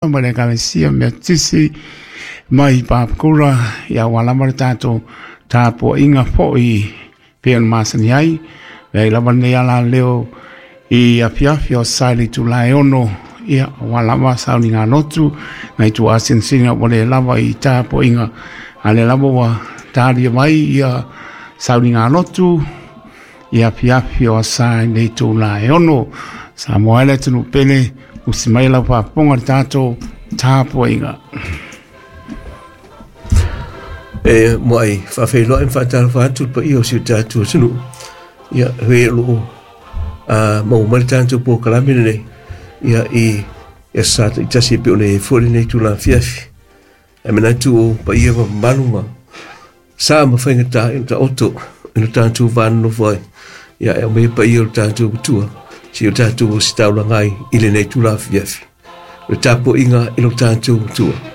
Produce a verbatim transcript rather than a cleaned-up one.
Ma le Ekalesia Metotisi mai Papakura, ia ua lava le tatou tapuaiga foi pei ona masani ai. Leai lava lenei alaleo i afiafi o sa i le itula e ono, ia ua lava sauniga lotu nai tuuasinasina ua le lava i tapuaiga, a lea lava ua talia mai ia sauniga lotu i afiafi o sa i le itula e ono. Samoa e le atunuu pele, usi mai lau faafofoga le tatou tapuaiga. E muai faafeiloai ma faatalofa atu le paia o si o tatou atunuu. Ia, e o loo a maua mai le tatou polokalame lenei ia i aso Sa taitasi e pei ona i ai foi lenei itula afiafi. Ae manatu o paia ma mamalu ma sa ma faigata i taoto i lo tatou va nonofo ai. Ia e aumaia paia o le tatou Matua si o tatou ositaulaga ai i lenei itula afiafi. O le tapuaiga i lo tatou Matua.